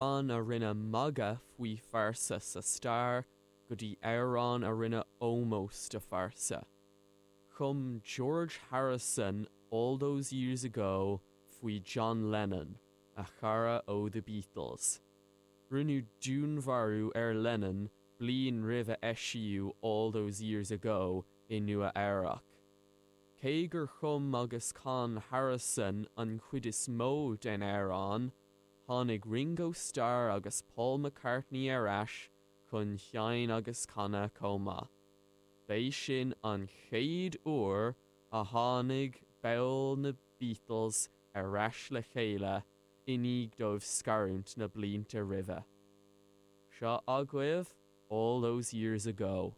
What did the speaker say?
Amhrán a rinne magadh faoi phearsa sa stair go dtí amhrán a rinne ómós do phearsa. Chum George Harrison All Those Years Ago faoi John Lennon, a chara ó The Beatles. Rinneadh dúnmharú ar Lennon bliain roimh a eisíodh All Those Years Ago i Nua Eabhrac. Cé gur chum agus chan Harrison an chuid is mó den amhrán, Tháinig Ringo Starr agus Paul McCartney ar ais chun seinm agus canadh chomh maith. B'é sin an chéad uair a tháinig baill na Beatles ar ais le chéile i ndiaidh dóibh scarúint na blianta roimhe. Seo agaibh All Those Years Ago.